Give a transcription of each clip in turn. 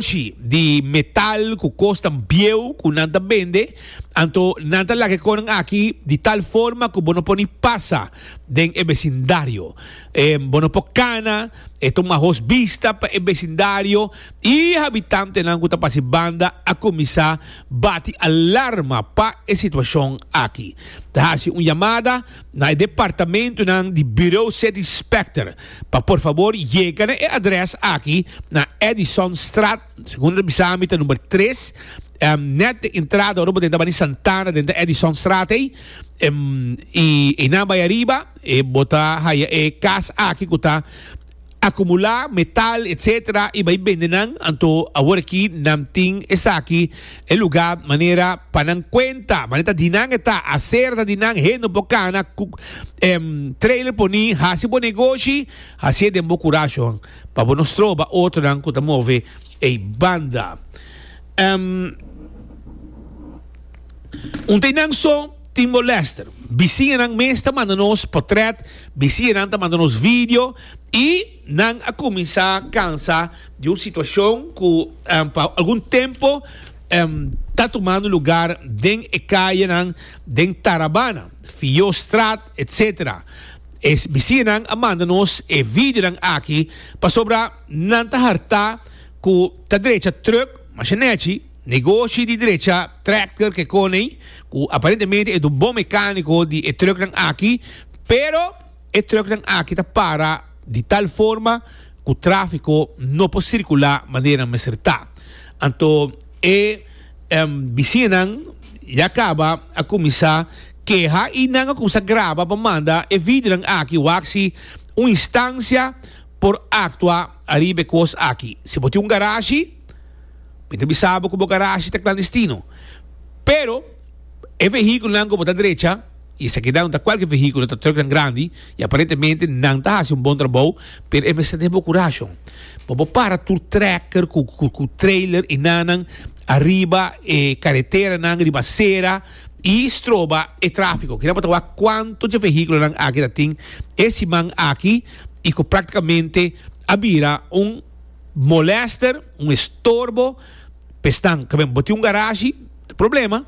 Shi di metal ku kosnan bieu ku nan ta bende, anto nan ta laga e konan aki di tal forma ku bo no por ni pasa den e besindario. E bo no por kana, e ta un mahos bista pa e besindario i e habitantenan ku ta pasa e banda a kuminsá bati alarma pa e situashon aki. Ta hasi un yamada na e departamentonan di Bureau City Inspector pa por fabor yega na e adres aki na Edisonstraat, segun ta bisa mi ta number tres, net den entrada ora bo den ta bani Santana den ta Edisonstraat ei, y einan bai ariba e bo ta haya e cas aki cu ta acumula metal etc y bai bende nan, anto awor aki nan tin esaki e lugar manera pa nan cuenta, manera ta di nan e ta, aser ta di nan, hende no por cana cu trailer poni, haci bo negoshi, hacié den bo curashon pa bo no stroba otronan cu ta move ey banda. Un ta einan so tin molester. Bisiñanan mes ta manda nos potret, bisiñanan ta manda nos video y nan a cuminsa cansa di un situacion cu pa algun tempo ta tumando lugar den e cayenan den Tarabana, Fiostraat, etc. E bisiñanan a manda nos e videonan aki pasobra nan ta harta cu ta drecha truck masha nechi, negoshi di drecha tractor ke koney cu aparentemente e ta un bon mecanico di e trucknan aki, pero e trucknan aki ta para di tal forma cu trafico no por circula manera nan mester ta. Anto e bisiñanan ya caba a cuminsa keha y nan a cuminsa graba pa manda e videonan aki wak si un instancia por actua ariba e cos aki. Si bo tin un garashi, mi ta bisa bo cu bo garashi ta clandestino. Pero e vehiculonan cu bo ta drecha, y esakinan no ta cualkier vehiculo, ta trucknan grandi, y aparentemente nan ta haci un bon trabou, pero e mester den bo curashon. Bo por para tur trekker cu cu trailer y nannan ariba e careteranan, riba acera, y stroba e trafico. Kinan bo ta wak cuanto dje vehiculonan aki ta tin e siman aki y cu practicamente a bira un molester, un estorbo p'esnan. Bo tin un garashi, problema,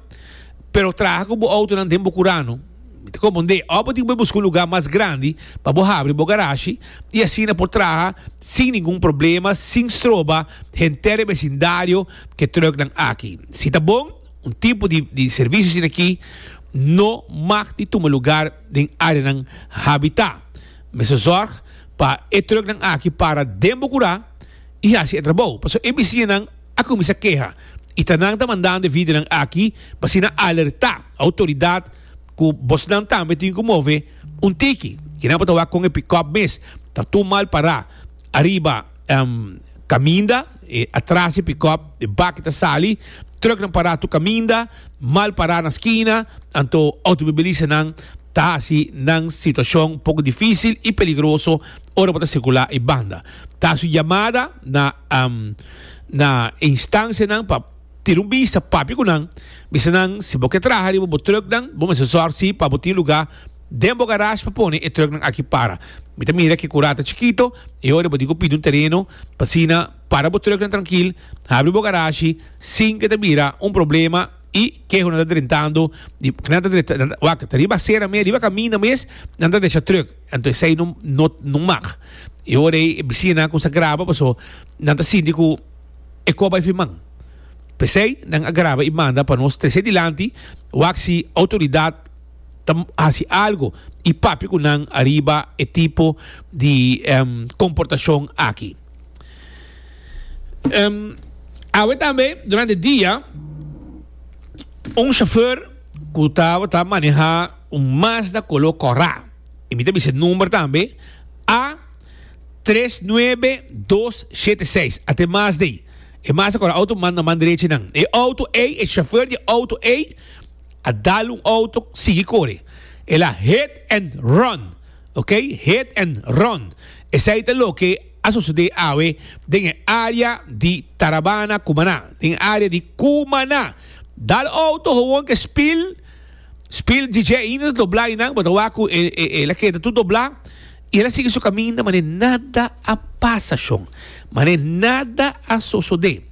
pero traha cu bo autonan den bo curano. Mi ta comprende. Of bo tin cu bay busca un lugar mas grandi pa bo habri bo garashi y asina por traha sin ningun problema, sin stroba henter e vecindario cu e trucknan aki. Si ta bon, un tipo di di servicio asina aki no mag di tuma lugar den areanan habita. Mester zorg pa e trucknan aki para den bo cura y haci e trabou. Pasobra e bisiñanan a cuminsa keha y ta nan ta mandando e videonan aki pa asina alerta autoridad cu bosnan tambe tin cu move un tiki. Kinan por ta wak con e pick-up mes ta tur mal para ariba caminda, e atras di pick-up e baki ta sali, trucknan para tur caminda, mal para na skina, anto automobilistanan ta haci nan situacion poco dificil y peligroso ora bo ta circula e banda. Ta haci un yamada na na e instancianan pa tira un bista, papia cu nan, bisa nan si bo ke traha riba bo trucknan, bo mester zorg si pa bo tin lugar den bo garage pa pone e trucknan aki para. Mi ta mira ke cura ta chikito e ora bo tin cu pidi un tereno pa asina para bo trucknan trankil, habri bo garage sin ke ta bira un problema. I keho nan ta drentando di nan ta drenta nan ta wak ta riba acera mes riba caminda mes nan ta decha truck anto esey no no no mag e ora ey e bisiñanan a cuminsa graba paso nan ta sinti cu e coba bai firman pesey nan a graba y manda pa nos trece dilanti wak si autoridad ta haci algo y papia cu nan ariba e tipo di comportacion aki. Awe tambe durante dia un chauffeur cu tabata maneha un Mazda color cora y mi ta bisa e number tambe A tres nuebe dos shete seis ate Mazda ey e Mazda cora auto manda man derechi nan e auto ey e chauffeur di e auto ey a dal un auto sigui core el a hit and run ok hit and run esey ta loke a sosodé awe den e área di Tarabana, Cumaná. Den e área di Cumaná. Dal auto gewoon ke spil, spil djidje ainda ta doblá einan, bo ta wak ku e e el a keda tur doblá i el a sigui su kaminda manera nada a pasa shon, manera nada a sosodé.